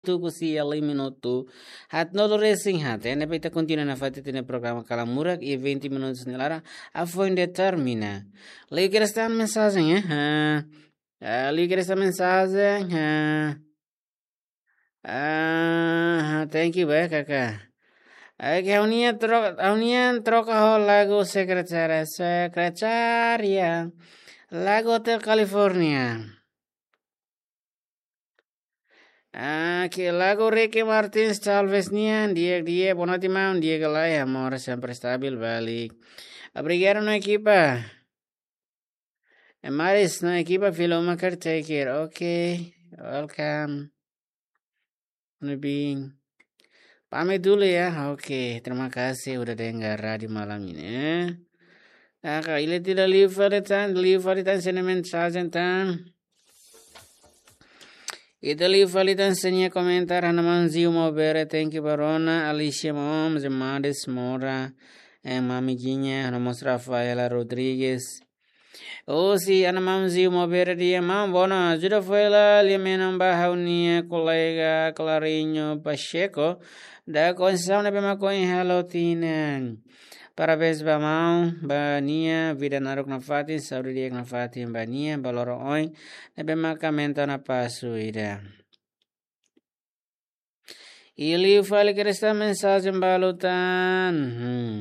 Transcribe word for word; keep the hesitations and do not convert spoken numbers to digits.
tuku sia liu minutu haat-nulu resin haat. Ne'ebé ita kontinua nafatin ita-nia programa Kalan Murak iha vinte minutus nia laran, hafoin de'it termina. Liu kedas tan mensajen, eh? Ha. Ah, liu kedas tan mensajen, ha. Ah, thank you, baik, kakak. Oke, ha'u-nia tro-, ha'u-nia troka ho lagu Sekretária, Sekretária. Lagu Hotel California. Ah, ke lagu Ricky Martins, Chalves nian, di'ak, di'ak, boa noite, maun, di'ak ka lae, amor sempre stabil, balik. Obrigadu, no ekipa. E Maris, no ekipa, fila uma caretaker, oke, welcome. Nubin. Pamit dulu ya, oke, terima kasih udah dengar radio malam ini, eh. Nah, kak, ita liu fali tan, liu fali tan, sende mensajen tan. Ita liu fali tan sende komentar, ha'u-nia maun Ziu Maubere, thank you ba rona, Alicia Mom, Zemades Mora, eh, Mami Jinha, ha'u-nia mós Rafaela Rodrigues. Oh, si, ha'u-nia maun Ziu Maubere dehan, maun, bono, ajuda fali lia menon ba ha'u-nia kolega Clarinho Pacheco, da Conceição ne'ebé mak ohin halo tinan. Parabéns ba maun, ba nia, vida naruk nafatin, saúde di'ak nafatin ba nia, ba loron oin, ne'ebé maka mentor na pasu ida. I liu fali kedas tan mensajen balu tan. Hmm.